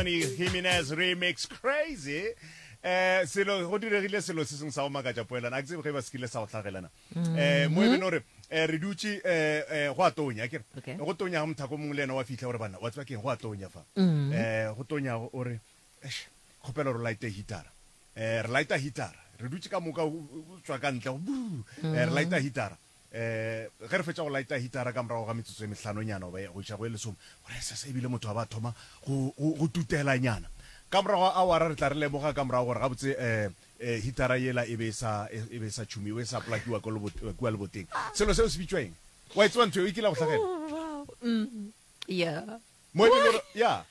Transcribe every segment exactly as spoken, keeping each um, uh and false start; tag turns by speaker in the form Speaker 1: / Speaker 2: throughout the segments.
Speaker 1: Anthony Jimenez remix crazy. Eh selo go diregile selo se sengwe sa go makatša poelana a ke tsebe ge ba se kile sa go hlagelana eh mo e bene gore eh re dutše eh eh go a tonya ke
Speaker 2: Okay.
Speaker 1: go tonya ga mothako mongwe le yena wa fihla gore banna wa tseba keng go a tonya fa eh go tonya o re eish kgopela gore o lighte heatera eh re lighta heatera re dutše ka moka o o tswa ka ntle go buu eh re lighta heatera eh ge re fetša go lighta heatera ka morago ga metsotso e mehlanonyana goba go iša go e lesome gore sese ebile motho a ba thoma go go go tutelanyana ka morago ga awara re tla re lemoga ka morago gore gabotse eh eh heatera yela e be e sa e be e sa tšhumiwe e sa plakiwa ko lebote- kua leboteng selo seo se bitšwa eng wa e tseba ntho eo e kile ya go hlagela
Speaker 2: Oh, wow. Mm. Yeah.
Speaker 1: mo e bile gore ya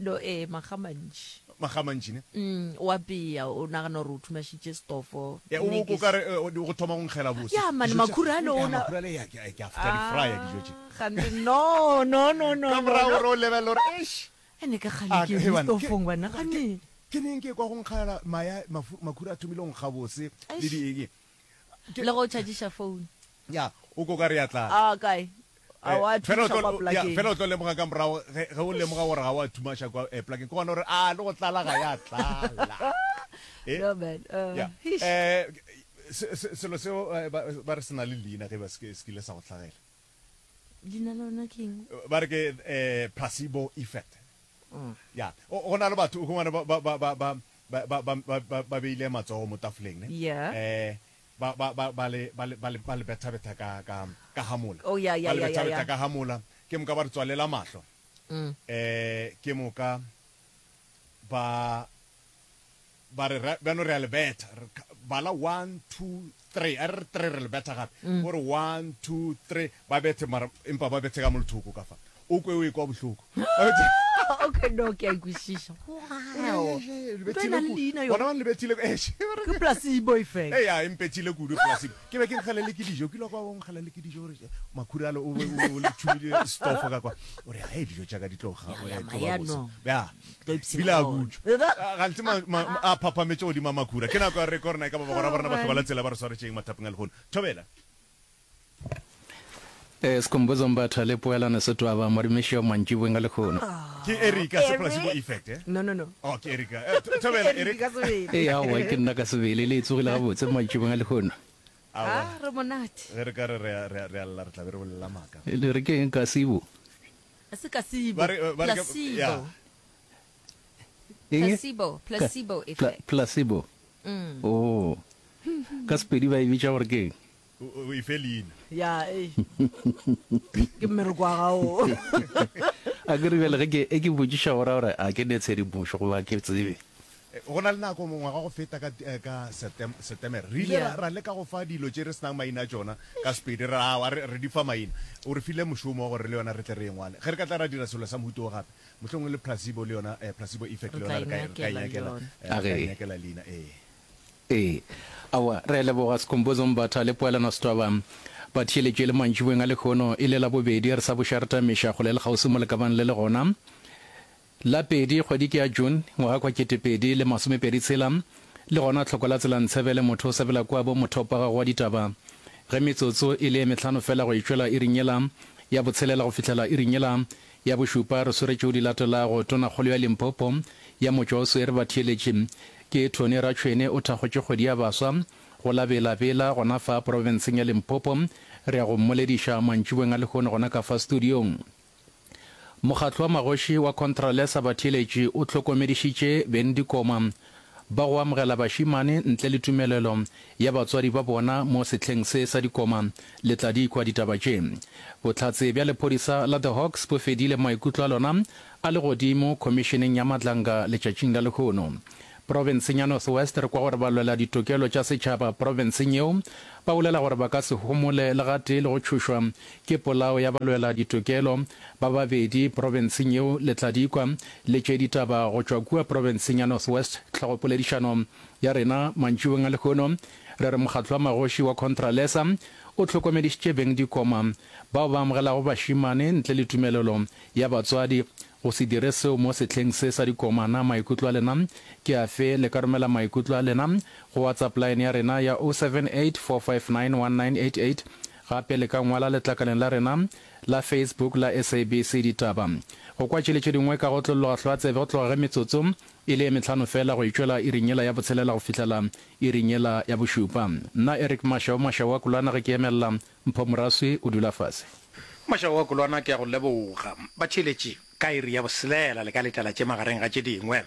Speaker 2: No, eh, makga mantši.
Speaker 1: magamantši ne
Speaker 2: Mm, o apea o nagana gore o thumašitše stofo.
Speaker 1: Ya, o o kare eh, o go thoma go nkgela bose
Speaker 2: Ya, man,
Speaker 1: Dijo tša-
Speaker 2: makhura ale
Speaker 1: Ya,
Speaker 2: ona-
Speaker 1: makhura ale ya ke ke a ke a di frya dijo tše
Speaker 2: Gante no, no, no, no.
Speaker 1: ka
Speaker 2: no,
Speaker 1: morago
Speaker 2: no.
Speaker 1: gore o lebelele gore eish
Speaker 2: Ene ka kgale
Speaker 1: Ah,
Speaker 2: ke
Speaker 1: he
Speaker 2: eme
Speaker 1: bana, ke-
Speaker 2: stofong bana gane.
Speaker 1: ke neng ke kwa go nkgela maya mafu- makhura a thomile go nkga bose le
Speaker 2: Eish.
Speaker 1: di eng ke-
Speaker 2: Le go chargeisha phone.
Speaker 1: ya o ko ka re ya tlala
Speaker 2: Ah, kae? A wa
Speaker 1: Eh, fela o
Speaker 2: thuša
Speaker 1: tlo-
Speaker 2: kwa
Speaker 1: ya,
Speaker 2: plakeng.
Speaker 1: fela o tlo lemoga ka morago ge ge o lemoga gore ga wa thumaša kwa eh, plakeng ke gona gore a le go tlala ga ya tlala Eh?
Speaker 2: No man. Uh,
Speaker 1: ya
Speaker 2: eish.
Speaker 1: Eh, se- se- selo seo eh, ba ba re se na le leina ge ba se ke- se kile sa go hlagela
Speaker 2: Leina la lona ke eng?
Speaker 1: ba re ke eh, placebo effect
Speaker 2: Mm.
Speaker 1: ya o go na le batho o humane ba ba ba ba ba ba ba ba ba ba beile matsogo mo tafoleng ne
Speaker 2: Yeah.
Speaker 1: eh ba ba ba ba le ba le ba le ba le betha-betha ka ka ka hamola
Speaker 2: Oh, yeah, yeah,
Speaker 1: ba le
Speaker 2: yeah, yeah,
Speaker 1: betha-betha
Speaker 2: yeah.
Speaker 1: ka hamola ke moka ba re tswalela mahlo
Speaker 2: Mm.
Speaker 1: eh ke moka ba ba re ra- bjano re a le betha Re ka- bala one two three a re re three re le betha gape
Speaker 2: Mm.
Speaker 1: o re one two three ba bethe mara empa ba bethe ka mo lethoko ka fa o kwe o ekwa bohloko Ba bethe-
Speaker 2: Okay, no, ke a ikwešiša. Wow.
Speaker 1: Eh, le
Speaker 2: Ntho e na le
Speaker 1: bethile
Speaker 2: leina
Speaker 1: kudu.
Speaker 2: yona.
Speaker 1: Bona ba le bethile eh, she- ba re-
Speaker 2: Ke placebo effect.
Speaker 1: Ee, ya, e mpethile kudu placebo ke be ke nkgalele ke dijo ke ile kwa go nkgalele ke dijo gore makhura ale o be o le tšhumile stofo ka kwa o re hei dijo tša ka di tlo ga-
Speaker 2: Ya, ya,
Speaker 1: eh, tlo ba
Speaker 2: maya
Speaker 1: bose.
Speaker 2: no.
Speaker 1: Ya.
Speaker 2: Tlo ipshina
Speaker 1: Ebile a
Speaker 2: ka ona.
Speaker 1: butšwa. Ah, gantsi ma- ma- a phaphametše godimo a makhura ke nako ya re ko rena e ka ba bagora ba rena
Speaker 2: Oh,
Speaker 1: ba hloka la
Speaker 2: man.
Speaker 1: tsela ba re swaretšeng mathapeng a lehono thobela
Speaker 3: Eh Sikhumbuzo Mbatha le Poelano Setwaba morimiši wa mantšiboeng a lehono.
Speaker 1: ke erika se
Speaker 2: Eric.
Speaker 1: placebo effect eh
Speaker 2: No, no, no.
Speaker 1: oh ke erika Eh, Tho- thobela
Speaker 2: Eric
Speaker 1: erika
Speaker 2: ka sebele.
Speaker 3: Ee aowa ke nna ka sebele le e tsogile gabotse mantšiboeng a lehono.
Speaker 1: Aowa.
Speaker 2: Ah, re monate.
Speaker 1: ge re ka re re a- re a re a lla re tla be re bolela maaka
Speaker 3: Le re ke eng ka sibo?
Speaker 2: A se placebo.
Speaker 1: Ba re- ba re ke-
Speaker 2: Placebo.
Speaker 1: ya.
Speaker 3: Eng?
Speaker 4: Placebo, placebo
Speaker 3: Pla-
Speaker 4: effect.
Speaker 3: placebo. Oh. Ka Sepedi ba e bitša gore ke eng?
Speaker 1: o o e fe leina
Speaker 2: Ya, eh. Ke mmereko wa gago.
Speaker 3: A ke re bjale ge ke e ke botšiša gore gore a ke ne tshedimošo goba ke tsebe.
Speaker 1: Eh, go na le nako mongwaga go feta ka eh, ka Septem- september re ile
Speaker 2: Yeah.
Speaker 1: ra ra leka go fa dilo tše re senang maina a tšona ka sepedi re awa re re di fa maina o re file mošomo wa gore le yona re tle re e ngwale ge re ka tla ra dira selo sa mohuto o gape mohlomongwe le placebo le yona eh, placebo effect
Speaker 2: Re
Speaker 1: le
Speaker 2: tla
Speaker 1: yona re ka e- re ka e
Speaker 2: inyakela le
Speaker 1: nyakela
Speaker 2: yona.
Speaker 1: eh, re ka e
Speaker 3: Age.
Speaker 1: nyakela leina ee
Speaker 3: Ee. Aowa, re a leboga Sikhumbuzo Mbatha le Poelano Setwaba. Ba theeletše le mantšiboeng a lehono e le la bobedi re sa boša re tamiša kgole le kgauswi mo lekabang le le gona. La pedi kgwedi ke ya June ngwaga kwa ketepedi le masomepedi tshela le gona tlhoko la tsela ntshebele motho o sebela kua bo mothopo wa gago wa ditaba. Ge metsotso e le e mehlano fela go itšwela iring yela ya botshelela go fihlela iring yela ya bošupa re swere tšeo di latelago tonakgolo ya Limpopo ya motšwa o swere ba theeletše ke Tony Ratšhwene o thakgotše kgwedi ya baswa go la Bela-Bela gona fa profenseng ya Limpopo re ya go mmolediša mantšiboeng a lehono gona ka fa studiong. Mokgatlo wa magoši wa Contralesa batheeletši o hlokomedišitše beng dikoma ba go amogela bašemane ntle le tumelelo ya batswadi ba bona mo sehleng se sa dikoma le tla di kwa ditaba tše. Bohlatse bja lephodisa la The Hawks bo fedile maikutlo a lona a le godimo khomišeneng ya Madlanga letšatšing la lehono. Profenseng ya North West re kwa gore balwela ditokelo tša setšhaba profenseng yeo ba bolela gore ba ka se homole le gatee le go tšhošwa ke polao ya balwela ditokelo ba babedi profenseng yeo le tla di kwa le tše ditaba go tšwa kua profenseng ya North West tlhogopoledišano ya rena mantšiboeng a lehono re re mokgatlo wa magoši wa Contralesa o hlokomedišitše beng dikoma bao ba amogelago bašemane ntle le tumelelo ya batswadi go se dire seo mo sehleng se sa dikoma na maikutlo a lena ke afe le ka romela maikutlo a lena go WhatsApp line ya rena ya oh seven eight four five nine one nine eight eight gape le ka ngwala letlakaleng la rena la Facebook la S A B C Ditaba. Go kwa tše le tše dingwe ka go otlolloga hlwa tsebe go tloga ge metsotso e le ye mehlano feela go itšwela iring yela ya botshelela go fihlela iring yela ya bošupa. Nna Eric Mashau Mashau wa Kolwana ge ke emelela Mpho Moraswi o dula fase. Mashau wa Kolwana ke a go leboga. Batheeletši, ka iri ya boselela le ka letela tše magareng ga tše dingwe.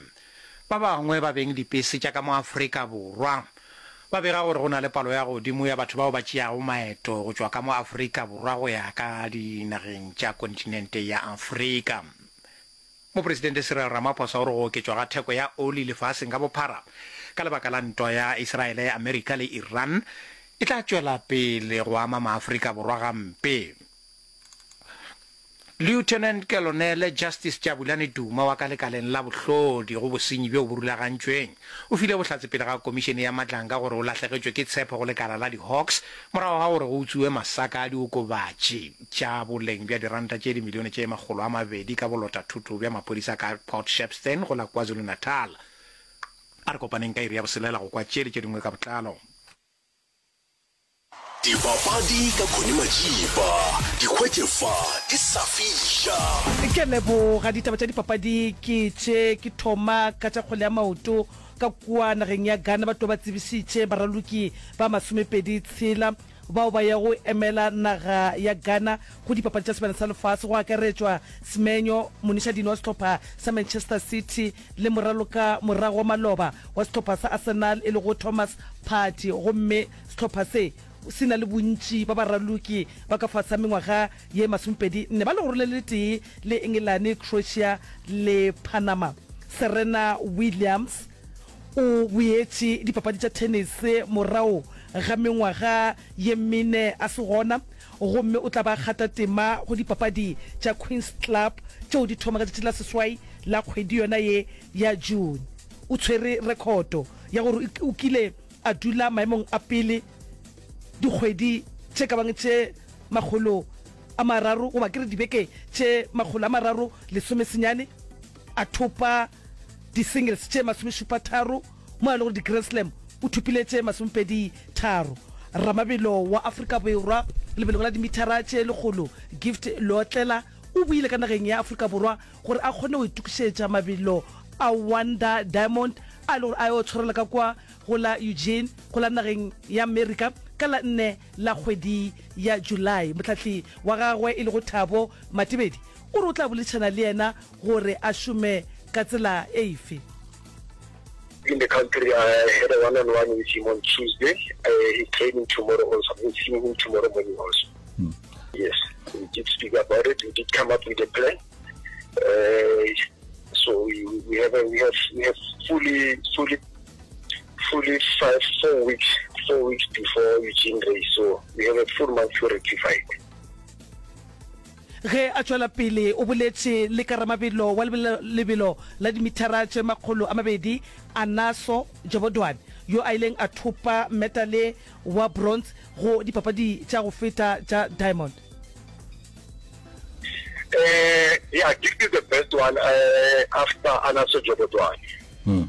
Speaker 3: Ba bangwe ba beng dipese tša ka mo Afrika Borwa ba bega gore go na le palo ya godimo ya batho bao ba tšeago maeto go tšwa ka mo Afrika Borwa go ya ka dinageng tša kontinente ya Afrika. Mopresidente Cyril Ramaphosa o re go oketšwa ga theko ya oli lefaseng ka bophara ka lebaka la ntwa ya Israele, Amerika le Iran e tla tšwela pele go ama maAfrika Borwa gampe. Lieutenant Colonel Justice Jabulani Duma wa ka lekaleng la bohlodi go bosenyi bjo bo rulagantšweng o file bohlatse pele ga Komišene ya Madlanga gore o lahlegetšwe ke tshepo go lekala la di-Hawks morago ga gore go utsuwe masaka a diokobatši tša boleng bja diranta tše dimilione tše makgolo a mabedi ka bolotathoto bja maphodisa ka Port Shepstone go la KwaZulu-Natal. A re kopaneng ka iri ya boselela go kwa tše le tše dingwe ka botlalo.
Speaker 4: Dipapadi ka Connie Majiba, di hwetše fa di sa fiša.
Speaker 2: Ke a leboga. Ditaba tša dipapadi ke tše, ke thoma ka tša kgwele ya maoto ka kua nageng ya Ghana. Ba tlo ba tsebišitše baraloki ba masomepedi tshela bao ba yago emela naga ya Ghana go dipapadi tša Sebjana sa Lefase, go akaretšwa Semenyo, monišadino wa sehlopha sa Manchester City le moraloka morago wa maloba wa sehlopha sa Arsenal e lego Thomas Partey. Gomme sehlopha se se na le bontši ba baraloki ba ka fase ga mengwaga ye masomepedi nne ba legoro le letee le Engelane, Croatia le Panama. Serena Williams o boetše dipapadi tša tennis morago ga mengwaga ye mene a se gona gomme o tla ba kgata tema go dipapadi tša Queen's Club tšeo di thoma ka tšatši la seswai la kgwedi yona ye ya June. O tshwere rekhoto ya gore o kile a dula maemong a pele dikgwedi tše ka bang tše makgolo a mararo goba ke re dibeke tše makgolo a mararo lesome senyane, a thopa di-singles tše masomešupa tharo mo a le gore di-Grand Slam o thopile tše masomepedi tharo. Ramabelo wa Afrika Borwa lebelong la dimithara tše lekgolo Gift Leotlela o boile ka nageng ya Afrika Borwa gore a kgone go itokišetša mabelo a Wanda Diamond a e le gore a yo tshwarela ka kwa go la Eugene go la nageng ya Amerika ka la nne la kgwedi ya July. Mohlahli wa gagwe e lego Thabo Matebedi o re o tla boledišana le yena gore a šome ka tsela efe.
Speaker 5: In the country, I had a one-on-one with him on Tuesday. Uh, he's training tomorrow also. I'm seeing him tomorrow morning also. Hmm. Yes, we did speak about it. We did come up with a plan. Uh, so we, we have a, we have we have fully fully fully five four weeks four weeks before Eugene race. So we have a full month to rectify it.
Speaker 2: Ge a tšwela pele o boletše le ka ramabelo wa lebelo la dimithara tše makgolo a mabedi Anaso Jobodwana yo a ileng a thopa metale wa bronze go dipapadi tša go feta tša Diamond.
Speaker 5: Uh, yeah, Gift is the best one uh, after Anaso Jobodwana. Hmm.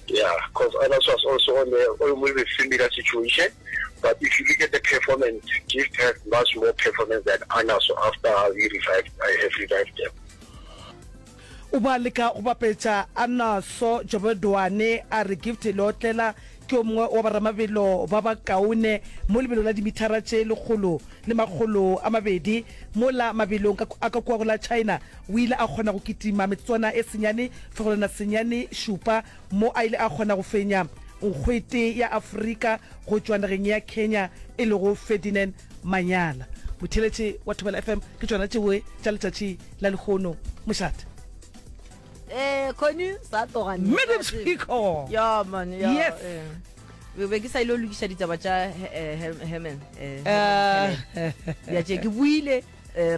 Speaker 5: Yeah, because Anaso was also on the almost a similar situation. But if you look at the performance, Gift has much more performance than Anaso after we revived, I have revived them.
Speaker 2: O ba leka go bapetša Anaso Jobodwana, a re Gift Leotlela ke o mongwe wa baramabelo ba bakaone mo lebelo la dimithara tše lekgolo le makgolo a mabedi. Mola mabelong a ka kua go la China o ile a kgona go kitima metsotswana e senyane fegelwana senyane šupa mo a ile a kgona go fenya nkgwete ya Afrika go tšwa nageng ya Kenya e lego Ferdinand Manyala. Motheeletši wa Thobela F M, ke tšona tšeoe tša letšatši la lehono. Mošate.
Speaker 6: Eh, Connie, sa tloga nna.
Speaker 2: Madam Speaker.
Speaker 6: Ya man, ya.
Speaker 2: Yes.
Speaker 6: Eh. Be be ke sa ile go lokiša ditaba tša eh, Herman. Eh,
Speaker 2: Eh.
Speaker 6: Herman Helen. Ya tše ke buile eh, re